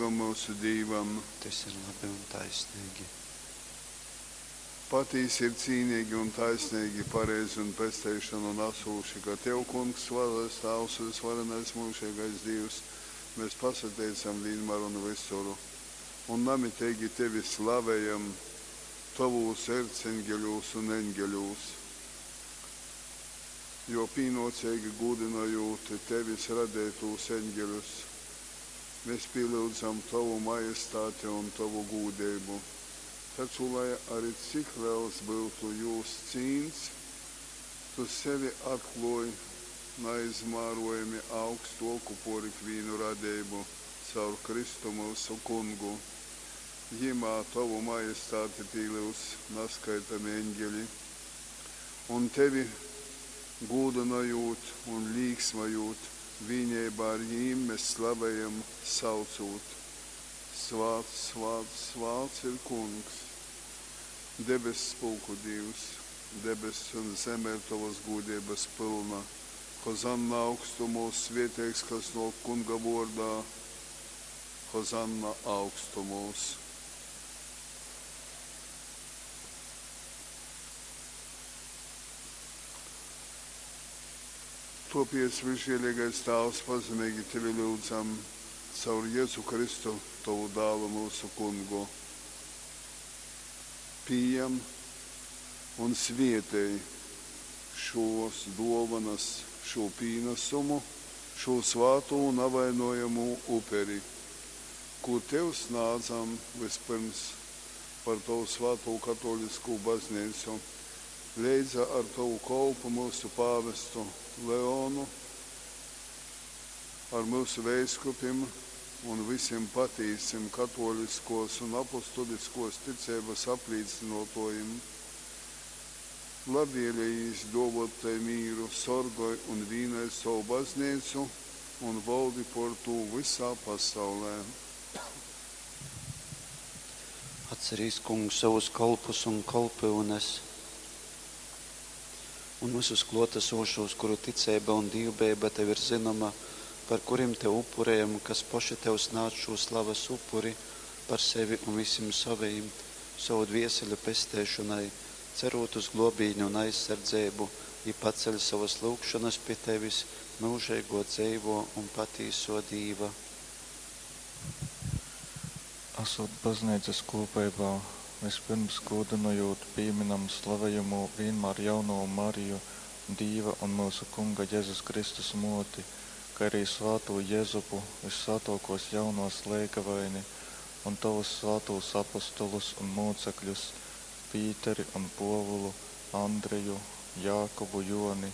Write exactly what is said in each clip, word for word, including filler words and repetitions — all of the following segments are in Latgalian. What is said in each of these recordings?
Kungam myusu Dīvam. Tys ir labi un taisneigi. Patīsi ir cīneigi un taisneigi, pareizi un pesteišonu nasūši, ka Tev, Kungs, Svātais Tāvs, vysvarenais myužeigais Dīvs, mēs pasateicam vīnmār un visur, un namiteigi Tevi slavējam Tovūs erceņgeļūs un eņgeļūs. Jo pīnōceigi gūdynojūt Tevis radeitūs eņgeļus, mēs pīlyudzam Tovu majestāti un Tovu gūdeibu. Taču, lai ari cik lels byutu jūs cīns, Tu sevi atklōj naizmārojami augstōku pōr ikvīnu radeibu caur Kristu myusu Kungu. Jymā Tovu majestāti pīlyudz naskaitami eņgeli, un Tevi gūdynojūt un līksmojūt, vīneibā ar jim mes slavejam, saucūt, Svāts, svāts, svāts ir Kungs, debess pulku Dīvs, debess un zeme ir tovas gūdeibas pylna. Hozanna augstumūs, svieteigs, kas nōk Kunga vōrdā, Hozanna augstumūs. Tōpēc, visžielīgais Tāvs, pazemeigi Tevi lyudzam, caur Jezu Kristu, Tovu dālu myusu Kungu. Pījam un svietej šōs dōvonas, šū pīnasumu, šū svātū un navainojamū uperi, kū Tev snādzam vyspyrms par Tovu svātū katōliskū Bazneicu, leidza ar Tovu kolpu myusu pāvestu Leonu, ar myusu veiskupim un vysim patīsim katōliskōs un apostuliskōs ticeibas aplīcynōtōjim. Labvēlejīs dōvōt tai mīru, sorgoj un vīnoj sovu Bazneicu un voldi pōr tū vysā pasaulē. Atcerīs, Kungs, savus kolpus un kolpyunes un vysus klōtasūšūs, kuru ticeiba un dīvbejeiba Tev ir zynoma, par kurim Tev upurejam, kas poši Tev snādz šū slavas upuri par sevi un vysim sovejim, sovu dvieseļu pesteišonai, cerūt uz glōbīni un aizsardzeibu, i paceļ sovas lyugšonas pi Tevis, myužeigō, dzeivō un patīsō Dīva. Asūt Bazneicas kūpeibā, vyspyrms gūdynojūt pīmynam slavejamū vīnmār Jaunovu Mariju, Dīva un myusu Kunga Jezus Kristus Mōti, kai arī svātū Jezupu, vyssvātōkōs Jaunovas leigavaini un Tovus svātūs apostolus un mūcekļus, Pīteri un Pōvulu, Andreju, Jākubu, Jōni,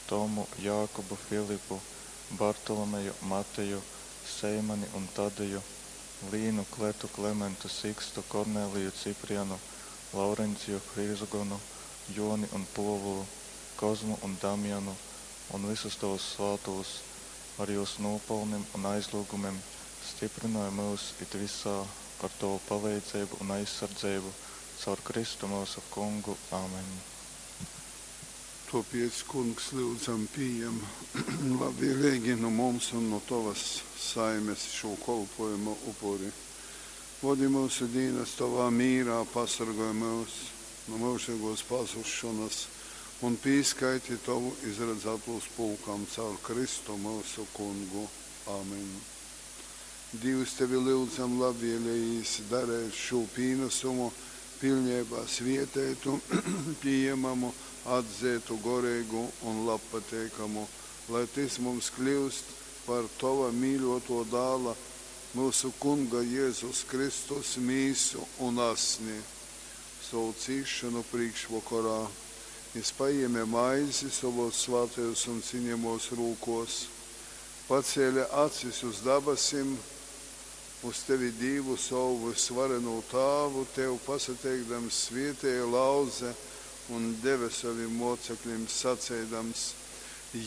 Tomu, Jākubu, Filipu, Bartolomeju, Mateju, Seimani un Tadeju, Līnu, Kletu, Klementu, Sikstu, Korneliju, Ciprianu, Laurenciju, Hrizogonu, Jōni un Pōvulu, Kozmu un Damjanu un vysus Tovus svātūs, ar jūs nūpalnim un aizlyugumim styprynoj myus it vysā ar Tovu paleidzeibu un aizsardzeibu caur Kristu myusu Kungu. Amen. Tōpēc, Kungs, lyudzam, pījem labvēleigi nu mums un nu Tovas saimes šū kolpōjuma upuri. Vodi myusu dīnas Tovā mīrā, pasorgoj myus nu myužeigōs pazusšonas un pīskaiti Tovu izradzātūs pulkam caur Kristu myusu Kungu. Amen. Dīvs, Tevi lyudzam, labvēlejīs dareit šū pīnasumu piļneibā svieteitu, pījemamu, atzeitu, goreigu un labpateikamu, lai tys mums kļyust par Tova mīļōtō Dāla, myusu Kunga Jezus Kristus mīsu un asni. Sovu cīsšonu prīškvokorā Jys pajēme maizi sovōs svātajōs un ciņejamōs rūkōs, pacēle acis uz dabasim, uz Tevi Dīvu sovu vysvarenū Tāvu, Tev pasateikdams svietēja, lauze un deve sovim mōceklim, saceidams: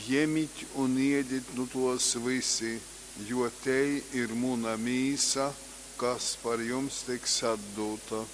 Jemit un iedit nu tōs vysi, jo tei ir muna mīsa, kas par jums tiks atdūta.